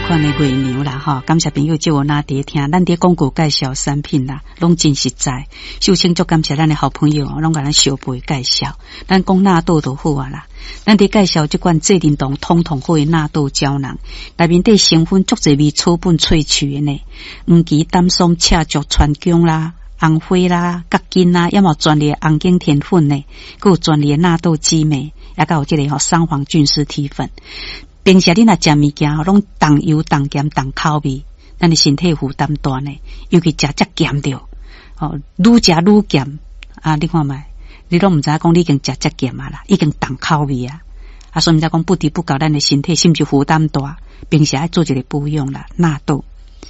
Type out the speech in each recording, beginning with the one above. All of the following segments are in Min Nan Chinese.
款的月娘啦，吼，感謝朋友借我拿佇聽，咱佇廣告介紹產品啦，攏真實在。首先足感謝咱的好朋友，攏共咱相陪介紹。咱講納豆就好啊啦，咱佇介紹這款濟仁堂通通好的納豆膠囊，內面底成分足濟味草本萃取的呢，黃芪、膽酸、赤芍、川芎啦、紅花啦、葛根啦，抑嘛有專利的紅景天粉呢，閣有專利的納豆激酶，抑閣有這个吼桑黃菌絲體粉。平時你若食物件吼，攏重油、重鹹、重口味，咱的身體負擔大呢。尤其食遮鹹著，吼，愈食愈鹹啊！你看覓，你攏毋知影講你已經食遮鹹啊啦，已經重口味啊！啊，所以毋知講不知不覺，咱的身體是毋是負擔大？平時愛做一个保養啦，納豆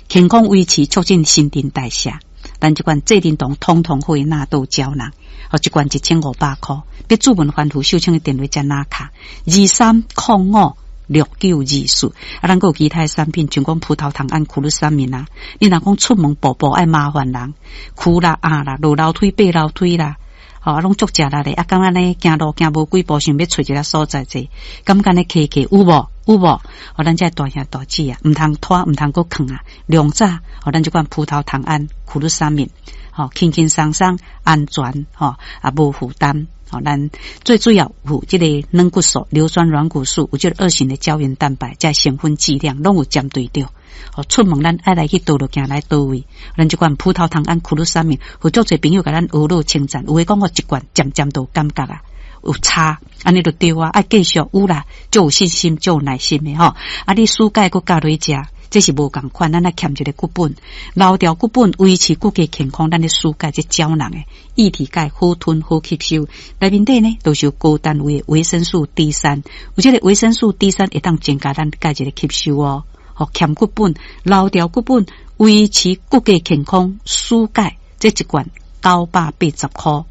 健康維持，促進新陳代謝。咱這款濟仁堂通通好的納豆膠囊，哦，一罐1500箍。欲註文番予秀清的電話才拿卡23056924。啊，咱閣有其他的產品，像講葡萄糖胺、苦魯三明啊。你若講出門步步愛麻煩人，跍啦、壓啦、落樓梯、爬樓梯啦，吼啊，攏足食力的，啊，感覺呢行路行無幾步，想欲揣一个所在坐，感覺呢騎騎有無？有無？哦，咱這大兄大姊啊，毋通拖，毋通閣囥啊，量早，哦，咱這款葡萄糖胺、苦魯三明，吼，輕輕鬆鬆、安全，吼，啊，無負擔。吼，咱最主要有這个軟骨素、硫酸軟骨素，有這个二型的膠原蛋白，這成分劑量攏有針對著。吼，出門咱愛來去佗落行來佗位，咱這款葡萄糖胺、苦魯三明，有足濟朋友共咱呵咾稱讚，有的講我一罐漸漸都有感覺啊，有差，按呢就對啊，愛繼續有啦，足有信心，足有耐心的吼。啊，你暑假閣教落食，這是無仝款，咱愛欠一个骨本，留牢骨本，維持骨骼健康。咱的暑假這膠囊的液體鈣好吞好吸收，內面底呢都是有高單位的維生素 D 三，有這个維生素 D 三會當增加咱鈣質的吸收哦。吼，欠骨本，留牢骨本，維持骨骼健康。暑假這一罐980箍。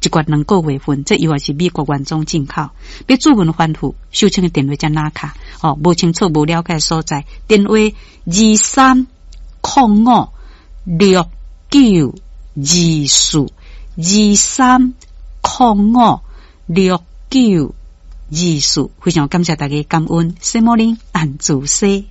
一罐兩個月份，這藥也是美國原裝進口。欲註文番予，秀清的電話才拿卡哦，無清楚無了解所在，電話23056924，23056924，非常感謝大家感恩，什麼人按主西。